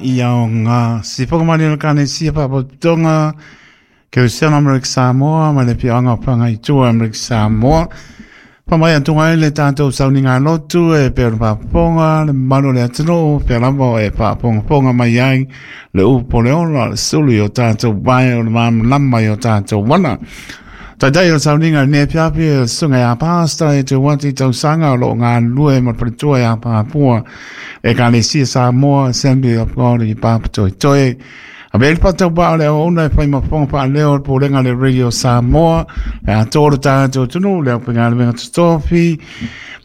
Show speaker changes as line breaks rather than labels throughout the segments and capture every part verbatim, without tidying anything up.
Ia o ngā sifoka mani o kane sia papotonga Kerisiano Amerika Samoa ma le pianga panga i tua Amerika Samoa. Pa mai antunga e le tātou sauniga lotu e pe o paponga le malu le atunu pe lava e paponga ponga mai ai le upo le ola le sulu i o tātou vai o le mamlama i o tātou wana. Taitai o sauniga ne piapi e sunga ia pāsta e te wati tausanga o lo ngā lue ma paritua ia pāpua e ka le sia Samoa Assembly of God i pāpatoi toi. A veli pata wa le ona e whai mafonga pa leo po lenga le Radio Samoa e a tōra tātou tunu le au penga le totofi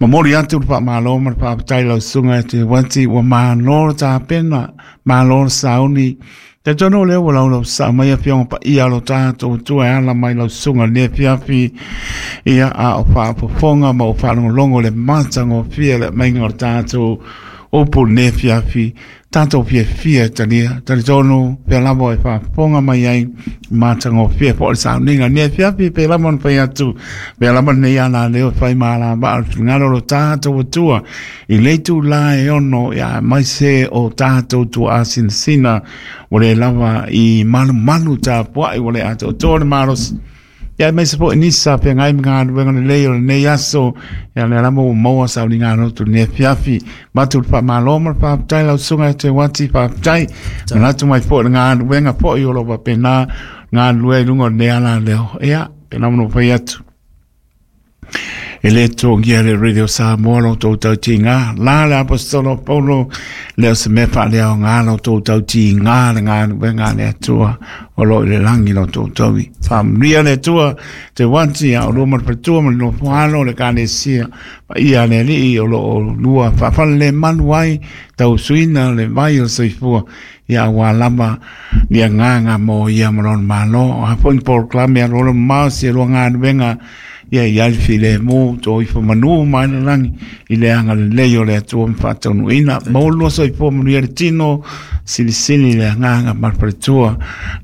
ma mori atu le pa malo ma le pāpatai lau sunga e te wati wa māloro tā pena māloro sauni. Te tono leo wa lau lau sa mai a fionga pa ia lo tātou tua e ala mai lau sunga le fiafi ia a o whaapofonga ma o whaalongolongo le matanga o fia le mainga o tātou o po ne fiafi tātou fia fia talia tali tono pea lava e whaapofonga mai ai matanga o fia po o le sauninga ne fiafi pe lava na whai atu pe lava nei ana leo whai maala ma o ngaro lo tātou tua i leitu la e ono ia mai se o tātou tua asinsina o le lava i malu malu tā puai o le ato tōre maros. Ia mai se po nisa pe ngai mga wenga le lei o le nei aso ia le lama o maua sa ni ngā rotu ne fiafi matu pa maloma pa tai lau sunga te wati pa tai manatu mai po ngā wenga po i o lo pa pena ngā lue lungo ne ala leo ia pe namono pai atu. E le tōngia le Radio Samoa lo tō tau ti ngā. La le apostolo Paulo leo se mepa leo ngā lo tō tau ti ngā le ngā wenga le atua o lo i le langi lo tō taui. Whamuria le atua te wanti a o loma le patua ma le nofoalo le kānesia pa ia le alii o lo o lua whawhale le manu ai tau suina le vai o soifua ia wā lama nia ngā ngā mō ia marona mālo. O hapoin porklame a lolo mausi e lua ngā wenga ia i alfi le mō tō ifa manu mai na langi i le anga le lei o le atua mwhātaunu ina. Maulua so ipo manu ia le tino silisili le ngā ngā marparitua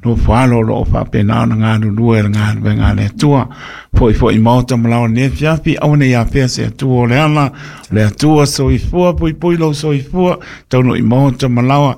no whalo lo o whapena ona ngā nulua e ngā ngā ngā le atua. Foi foi maota malawa ne fiafi awane ia pea se atua o le ala le atua so ifua pui pui lo so ifua tauno i maota malawa.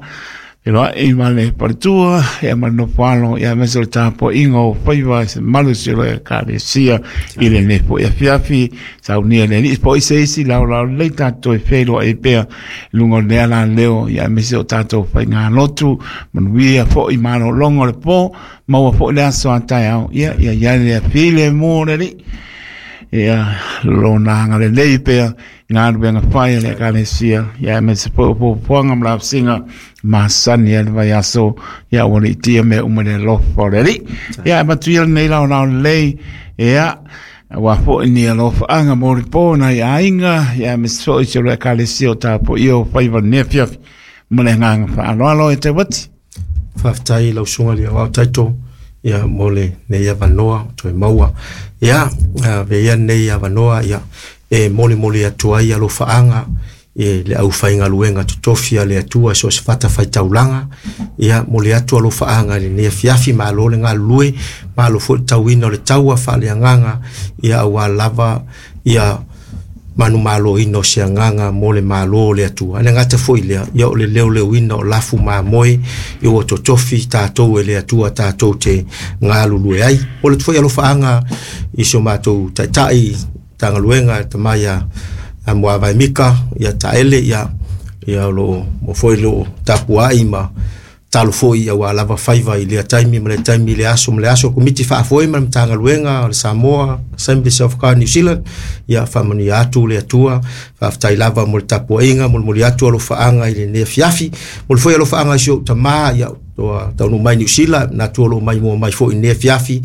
Eloa e ma le paritua, ia ma no whalo, ia mese o tāpo ingo o whaiwa, se malu si o ka le sia, i le nepo ia fiafi, saunia le ni, po ise isi lau lau lei tātou e whelo e pea, lungo le ala leo, ia mese o tātou whai ngā lotu, manuia fo i malo longo le po, maua fo le aso a tai au, ia ia ia le file mō le li, ia lona hanga le lei pea, ngā ruenga whai le kalesia, ia mese po po poanga mlapsinga, masani e le vai aso, ia wale i tia me umele lofo le li. Ia matuia nei lau lau lei, ia wā fo ni a lofa anga mori pōna i ainga, ia mese fo i se le kalesia o tāpo i o whaiwa nefiafi, mole nganga whaaloalo e te wati.
Whaftai lau sunga lia wau taito, ia mole nei avanoa, toe maua. Ia, ve ia nei avanoa, ia e mole mole atua ia lo whaanga, e le au whainga luenga totofia le atua so se whata whai taulanga, ia mole atua lo whaanga le nea fiafi ma alo le ngā lue, ma alo fo tauina o le taua wha le anganga, ia awa lava, ia manu malo ino se anganga mo le malo le atua. Ane ngata foi lea, ia o le leo leo ina o lafu maa moe, ia o totofi tātou e le atua tātou te ngā lulue ai. O le tufoi alo whaanga i so mātou taitai, tangaluenga, tamaia a mua vai mika, ia taele, ia, ia lo mo foi lo tapuai ma talo foi ia wa lava faiva i lea taimi ma le taimi le aso ma le aso komiti faafoe ma le Matagaluega o le Samoa Assemblies of God New Zealand ia faamanuia atu le Atua faafetai lava mo le tapuaiga molimoli atu alofaaga i lenei afiafi moli foi alofaaga i si ou tamā ia toa taunuu mai New Zealand na tua loo mai mua mai foi i lenei afiafi.